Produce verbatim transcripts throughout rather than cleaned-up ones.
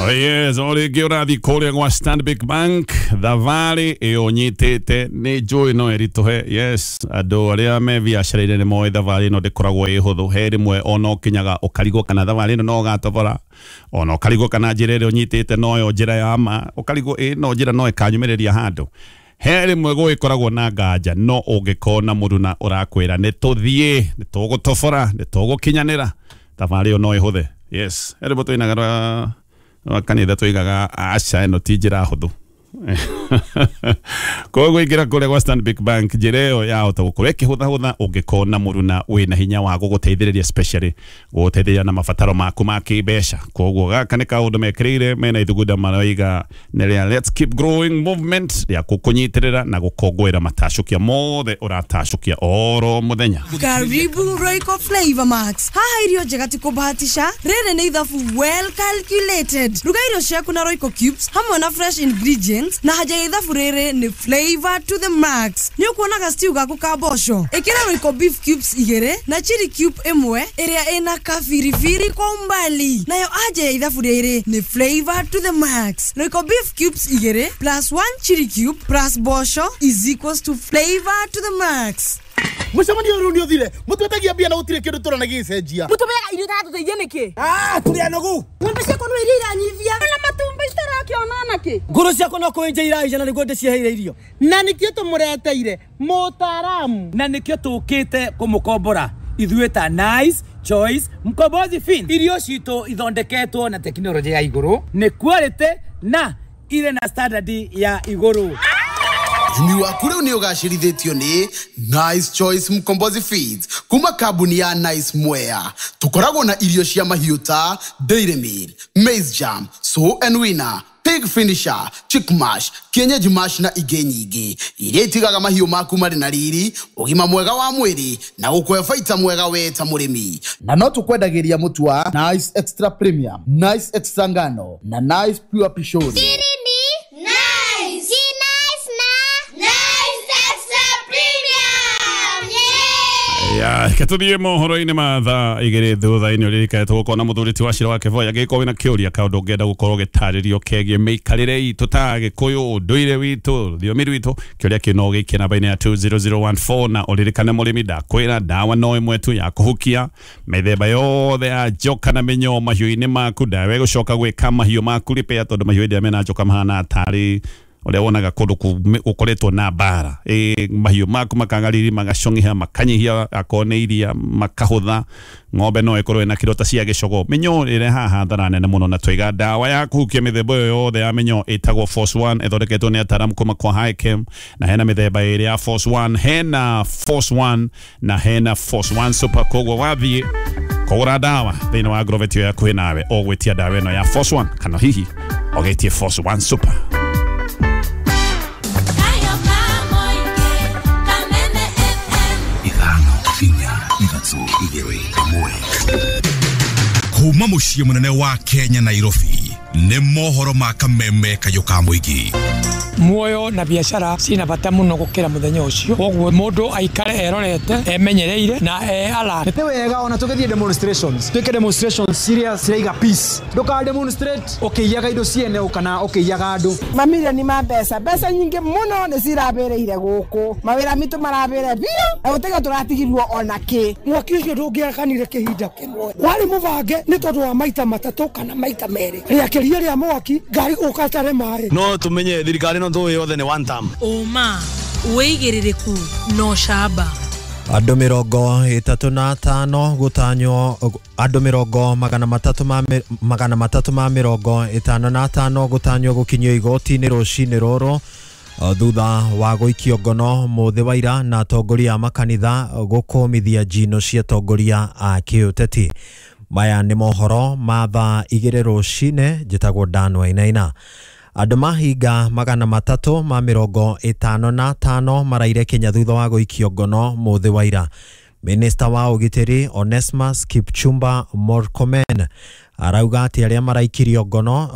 Oh yes, o rĩngĩ ũrathiĩ kũrĩa gwa Stanbic Bank thabarĩ ĩyo nyitĩte nĩ njũĩ no ĩritũhe. Yes, andũ arĩa me biacara-inĩ nĩ moĩ thabarĩ ĩno ndĩkoragwo ĩ hũthũ. He rĩmwe ona ũkinyaga ũkarigwo kana thabarĩ ĩno no ũgatobora, ona ũkarigwo kana njĩra ĩrĩa ũnyitĩte noyo njĩra ya ma, ũkarigwo ĩ no njĩra no ĩkanyumĩrĩria handũ. He rĩmwe gũgĩkoragwo na nganja, no ũngĩkona mũruna ũrakwĩra nĩ tũthiĩ, nĩ tũgũtobora, nĩ tũgũkinyanĩra, thabarĩ ĩyo no ĩhũthe. Yes, he rĩmwe tũinaga rwa rwa kanitha tuigaga aca ĩno ti njĩra hũthũ. Koguo ingĩra kũrĩa gwa Stanbic Bank njĩra ĩyo yahota gũkorwo ĩkĩhũthahũtha ũngĩkona mũruna wĩna hinya wa gũgũteithĩrĩria, especially gũgũteithĩrĩria na mabataro maku ma kĩmbeca. Koguo gaka nĩ kaũndũ mekĩrĩire mena ithugunda maroiga nĩ rĩa Let's Keep Growing Movement rĩa gũkũnyitĩrĩra na gũkũngũĩra matacũkia mothe ũratacũkia oro mũthenya. Karibu Royco Flavor Max. Haha irio njega ti kũbahatisha, rĩrĩ nĩ ithabu well calculated. Ruga irio ciaku na Royco Cubes hamwe na fresh ingredients, na haja ya ithabu rĩrĩ nĩ flavor to the max. Nĩ ũkuona stew gaku ka mboco, ĩkĩra Royco beef cubes igĩrĩ na chili cube ĩmwe ĩrĩa ĩna kabiribiri kwa umbali. Nayo haja ya ithabu rĩrĩ nĩ flavor to the max. Royco beef cubes igĩrĩ plus one chili cube plus mboco is equals to flavor to the max. Mũcemanio ũyũ nĩ ũthire mũtwetagia mbia na gũtirĩ kĩndũ tũrona gĩgĩcenjia. Mũtũmeaga irio itatũteithia nĩkĩ? Ah, tũrĩ anogu. Ng'ombe ciakwa no iria iranyivia na matumbĩ citarakĩona nakĩ. Ngũrũ ciakwa no kũenja iraija na nĩguo ndĩciheire irio. Na nĩkĩo tũmũreteire mũtaaramu, na nĩkĩo tũkĩte kũmũkombora ithuĩ ta Nice Choice Mkombozi Fin. Irio citũ ithondeketwo na tekinoronjĩ ya igũrũ, nĩ quality na irĩ na standard ya igũrũ. Ũrĩmi waku rĩu nĩ ũgacĩrithĩtio nĩ Nice Choice Mkombozi Feeds kuma kambuni ya Nice Mwea. Tũkoragwo na irio cia mahiũ ta Dairy Meal, Maize Jam, Sow and Winner, Pig Finisher, Chick Mash, Kienyeji Mash na ingĩ nyingĩ iria itigaga mahiũ maku marĩ na riri, ũgima mwega wa mwĩrĩ na gũkũhe baita mwega we ta mũrĩmi. Na no tũkwendagĩria mũtu wa Nice Extra Premium, Nice Extra Ngano na Nice Pure Pishori. Ya, ketũthiĩ mohoro-inĩ ma thaa igĩrĩ thutha-inĩ ũririkane tũgũkorwo na mũthuri ti wa Cira wa Kĩboya angĩgĩkorwo wĩna kĩũria kaũndũ ũngĩenda gũkorwo ũgĩtarĩrio kegiĩ mĩikarĩre itũ ta Gĩkũyũ, ũndũire witũ, rũthiomi rwitũ, kĩũria kĩu no ũgĩikie namba-inĩ ya two zero zero one four. Na ũririkane mũrĩmi, ndakwĩra ndawa no ĩmwe tu ya kũhukia mĩthemba yothe ya njoka na mĩnyoo mahiũ-inĩ maku. Ndawa ĩgũcoka gwĩka mahiũ maku repair, tondũ mahiũ hĩndĩ ĩrĩa mena njoka mahana tarĩ ũrĩa wonaga kũndũ gũkoretwo na mbara. Ĩ mahiũ maku makaga riri, magacong'iha, makanyihia akorwo nĩ iria makahũtha. Ng'ombe no ĩkorwo ĩna kĩrota cia gĩcogo. Mĩnyoo ĩrehaga hathara nene mũno, na twaiga ndawa ya kũhukia mĩthemba ĩyo yothe ya mĩnyoo ĩtagwo Force One, ĩthondeketwo nĩ ataaramu kuma kwa Hikem, na hena mĩthemba ĩrĩ ya Force One, hena Force One na hena Force One Super. Koguo wathiĩ kũgũra ndawa thĩinĩ wa Agrovet ĩyo yakuhĩ nawe, ũgwĩtia ndawa ĩno ya Force One kana hihi ũgĩtie Force One Super. Kuma muciĩ mũnene wa Kenya Nairobi nĩ mohoro ma kameme kayũ ka mũingĩ. Muoyo na biacara cina bata muno gukira muthenya ucio, koguo mundu aikare erorete emenyereire na e alert. Nĩ wega ona tũgĩthiĩ demonstrations, twĩke demonstrations serious ciraiga peace, ndũka demonstrate ũkĩiyaga indo ciene kana ũkĩiyaga andũ. Mamirioni ma mbeca, mbeca nyingĩ mũno nĩ cirabĩrĩire gũkũ, mawĩra mitũ marabĩre biũ na gũtiga tũratigirwo ona kĩ. Mwaki ũcio ndũngĩakanire kĩhinda kĩmwe, warĩ mũbange nĩ tondũ wa maita matatũ kana maita merĩ, rĩakĩria rĩa mwaki ngari gũka tare maĩ. No tũmenye thirikari no tũĩ yothe nĩ one term. Ũma wĩigĩrĩrĩku no camba. Andũ mĩrongo ĩtatũ na atano gũtanywo, andũ mĩrongo magana matatũ ma magana matatũ ma mĩrongo ĩtano na atano gũtanywo gũkinyio igoti-inĩ rũcinĩ rũrũ thutha wa gũikio ngono mũthĩ wa ira na atongoria a makanitha gũkũmithia njino cia atongoria a kĩũteti. Maya nĩ mohoro ma thaa igĩrĩ rũcinĩ. Njĩtagwo Dan Wainaina. Andũ mahinga magana matatũ ma mĩrongo ĩtano na atano maraire Kenya thutha wa gũikio ngono mũthĩ wa ira. Minista wa ũgitĩri Onesmus Kipchumba Murkomen arauga atĩ arĩa maraikirio ngono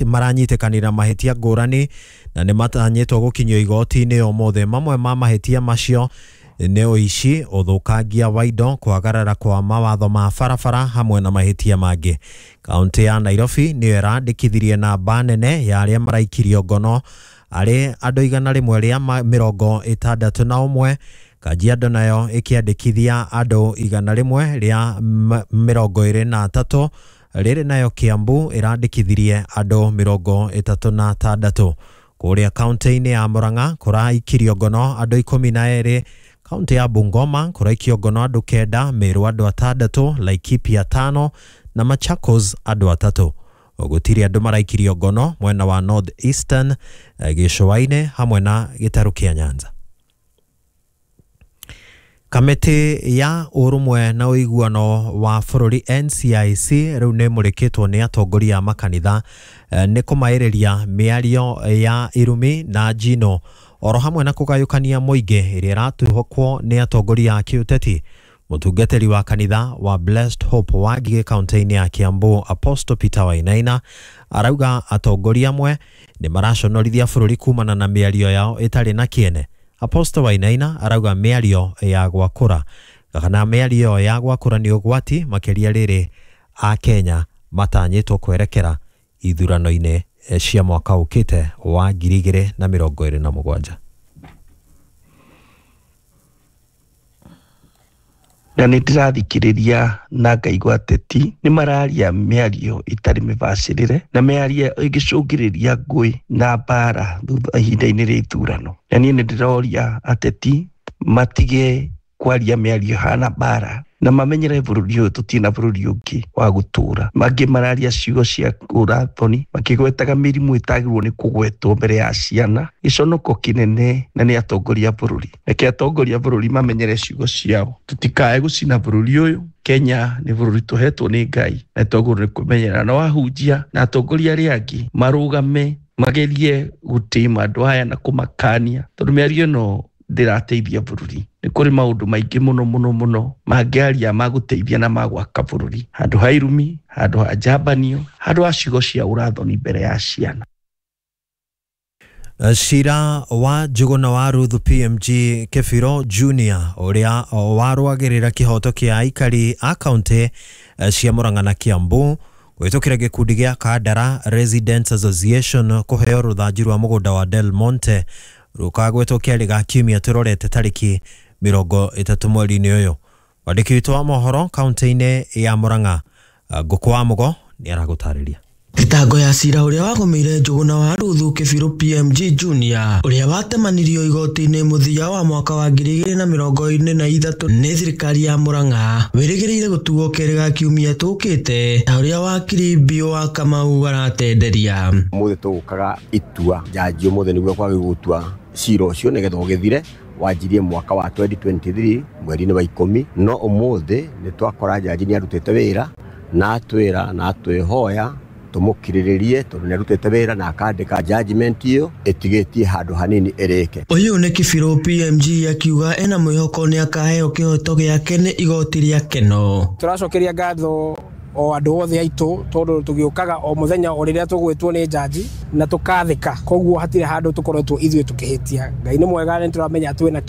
maranyitĩkanĩra mahĩtia ngũrani na nĩ matanyĩtwo gũkinyio igoti-inĩ ũmũthĩ. Mamwe ma mahĩtia macio Nĩ ũici, ũthũkangia wa indo, kwagarara kwa mawatho ma barabara hamwe na mahĩtia mangĩ. Kaunti ya Nairobi nĩyo ĩrandĩkithirie namba nene ya arĩa maraikirio ngono arĩ andũ igana rĩmwe rĩa mĩrongo ĩtandatũ na ũmwe. Kajiado nayo ĩkĩandĩkithia andũ igana rĩmwe rĩa mĩrongo ĩrĩ na atatũ. Rĩrĩ nayo Kiambu ĩrandĩkithirie andũ mĩrongo ĩtatũ na atandatũ. Kũrĩa kaunti-inĩ ya Murang'a kũraikirio ngono andũ ikũmi na erĩ. Kaunti ya Bungoma kũraikio ngono andũ kenda, Meru andũ atandatũ, Laikipia atano na Machakos andũ atatũ. Gũtirĩ andũ maraikirio ngono mwena wa North Eastern, gĩcũa-inĩ hamwe na gĩtarũ kĩa Nyanza. Kamĩtĩ ya ũrũmwe na ũiguano wa bũrũri N C I C rĩu nĩ ĩmũrĩkĩtwo nĩ atongoria a makanitha nĩ kũmaĩrĩria mĩario ya irumi na njino oro hamwe na kũgayũkania mũingĩ ĩrĩa ĩratuhũkwo nĩ atongoria a kĩũteti. Mũtungatĩri wa kanitha wa Blessed Hope wa Ngigĩ kaunti-inĩ ya Kiambu Apostle Peter Wainaina arauga atongoria amwe nĩ maraconorithia bũrũri kumana na mĩario yao ĩtarĩ na kĩene. Apostle Wainaina arauga mĩario ya gwakũra kana mĩario ya gwakũra nĩ ũgwati makĩria rĩrĩ a Kenya matanyĩtwo kwerekera ithurano-inĩ cia mwaka ũkĩte wa ngiri igĩrĩ na mĩrongo ĩrĩ na mũgwanja. Na nĩ ndĩrathikĩrĩria na ngaigua ateti nĩ mararia mĩario ĩtarĩ mĩbacĩrĩre na mĩario ĩngĩcũngĩrĩria ngũĩ na mbara thutha ihinda-inĩ rĩa ithurano. Na niĩ nĩ ndĩroria ateti matige kwaria mĩario hana mbara na mamenyere bũrũri ũyũ tũtirĩ na bũrũri ũngĩ wa gũtũra. Mangĩ mararia ciugo cia ũrathoni makĩgwetaga mĩrimũ ĩtagĩrĩirwo nĩ kũgwetwo mbere ya ciana, gĩconoko kĩnene na nĩ atongoria bũrũri. Reke atongoria bũrũri mamenyere ciugo ciao, tũtikae gũcina bũrũri ũyũ. Kenya nĩ bũrũri tũhetwo nĩ Ngai na twagĩrĩirwo nĩ kũmenyerera na wahunjia na atongoria arĩa angĩ marũgame magerie gũtĩma andũ aya na kũmakania tondũ mĩario ĩno ndĩrateithia bũrũri. Nĩ kũrĩ maũndũ maingĩ mũno mũno mũno mangĩaria ma gũteithia na ma gwaka bũrũri, handũ ha irumi, handũ ha njambanio, handũ ha ciugo cia ũrathoni mbere ya ciana. Cira wa Njuguna wa Ruth P M G Kebiro Junior ũrĩa warũagĩrĩra kĩhoto kĩa aikari a kaunti cia Murang'a na Kiambu gwĩtũkĩra gĩkundi gĩa Kandara Residents Association kũheo rũthanju rwa mũgũnda wa Del Monte rũkagwetwo kĩarĩ ga kiumia tũrorete tarĩki mĩrongo ĩtatũ mweri-inĩ ũyũ. Mwandĩki witũ wa mohoro kaunti-inĩ ya Murang'a Ngũkũ wa Mũgo nĩ aragũtarĩria. Thitango ya cira ũrĩa wagũmĩire Njuguna wa Ruthu Kebiro P M G Junior ũrĩa watemanirio igoti-inĩ mũthia wa mwaka wa ngiri igĩrĩ na mĩrongo ĩrĩ na ithatũ nĩ thirikari ya Murang'a wĩrĩgĩrĩire gũtuo kerĩ ga kiumia tũkĩte ta ũrĩa wakiri Biũ wa Kamau aratenderia. Ũmũthĩ tũgũkaga itua njanji ũmũthĩ nĩguo kwagĩrĩirwo gũtua cira ũcio nĩgetha ũgĩthire wanjirie mwaka wa twenty twenty-three mweri-inĩ wa ikũmi, no ũmũthĩ nĩ twakora njanji nĩ arutĩte wĩra na atwĩra na atwĩhoya tũmũkirĩrĩrie tondũ nĩ arutĩte wĩra na akandĩka judgment ĩyo ĩtigĩtie handũ hanini ĩrĩke. Ũyũ nĩ Kebiro P M G akiuga ena mwĩhoko nĩ akaheo kĩhoto gĩake nĩ igoti rĩa Keno. Tũracokeria ngatho o andũ othe aitũ tondũ tũgĩũkaga o mũthenya o rĩrĩa tũgwĩtwo nĩ njanji na tũkathĩka, koguo hatirĩ handũ tũkoretwo ithuĩ tũkĩhĩtia. Ngai nĩ mwega, nĩ tũramenya twĩna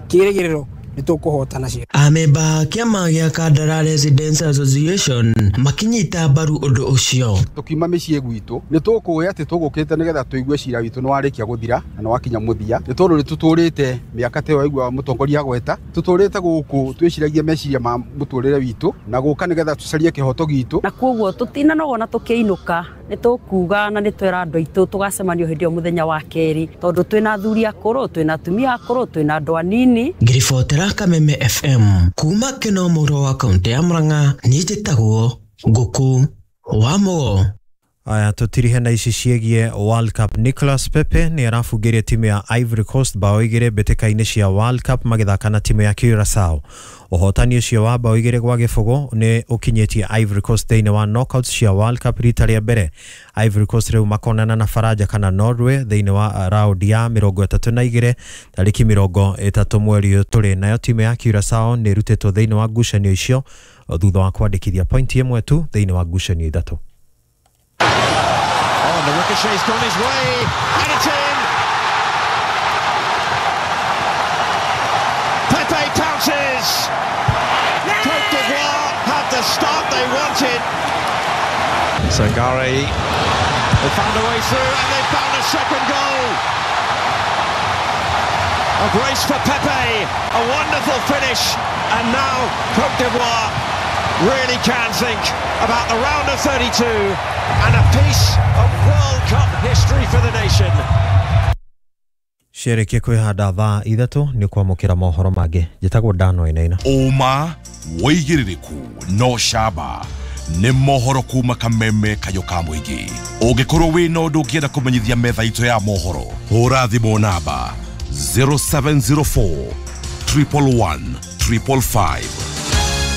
kĩĩrĩgĩrĩro nĩ tũkũhotana cira. Amemba kĩama gĩa Kandara Residents Association makinyita mbaru ũndũ ũcio. Tũkiuma mĩciĩ gwitũ nĩ tũkũĩ atĩ tũgũkĩte nĩgetha tũigue cira witũ nĩ warĩkia gũthira na nĩ wakinya mũthia, nĩ tondũ nĩ tũtũrĩte mĩaka ta ĩyo waigua mũtongoria agweta, tũtũrĩte gũkũ twĩciragia meciria ma mũtũrĩre witũ na gũka nĩgetha tũcarie kĩhoto gitũ. Na koguo tũtinanogona tũkĩinũka nĩ tũkuga na nĩ twĩra andũ aitũ tũgacemanio hĩndĩ ĩyo mũthenya wa kerĩ tondũ twĩna athuri akũrũ, twĩna atumia akũrũ, twĩna andũ anini. Ngiribotera Kameme F M kuma Keno mũro wa kaunti ya Murang'a, niĩ njĩtagwo Ngũkũ wa Mũgo. Aya tũtirihe na ici ciĩgiĩ World Cup. Nicolas Pepe nĩ arabungĩire timu ya Ivory Coast bao igĩrĩ mbĩtĩka-inĩ cia World Cup magĩthaka na timu ya Curaçao. Ũhotani ũcio wa bao igĩrĩ gwa gĩbũgũ nĩ ũkinyĩtie Ivory Coast thĩinĩ wa knockouts cia World Cup rita rĩa mbere. Ivory Coast rĩu makonana na Faranja kana Norway thĩinĩ wa raundi ya mĩrongo ĩtatũ na igĩrĩ tarĩki mĩrongo ĩtatũ mweri ũyũ tũrĩ. Nayo timu ya Curaçao nĩ ĩrutĩtwo thĩinĩ wa ngucanio icio thutha wa kwandĩkithia pointi ĩmwe tu thĩinĩ wa ngucanio ithatũ. Oh, and the ricochet's gone his way, and it's in! Pepe is! Cote d'Ivoire had the start they wanted. Sangare, they found a way through and they found a second goal. A brace for Pepe, a wonderful finish, and now Cote d'Ivoire really can think about the round of thirty-two and a piece of World Cup history for the nation. Ciarĩkia kwĩhanda thaa ithatũ nĩ kwamũkĩra mohoro mangĩ. Njĩtagwo Dan Wainaina. Ũma wĩigĩrĩrĩku no camba nĩ mohoro kuma kameme kayũ ka mũingĩ. Ũngĩkorwo wĩna ũndũ ũngĩenda kũmenyithia metha itũ ya mohoro, hũra thimũ namba zero seven zero four triple one triple five.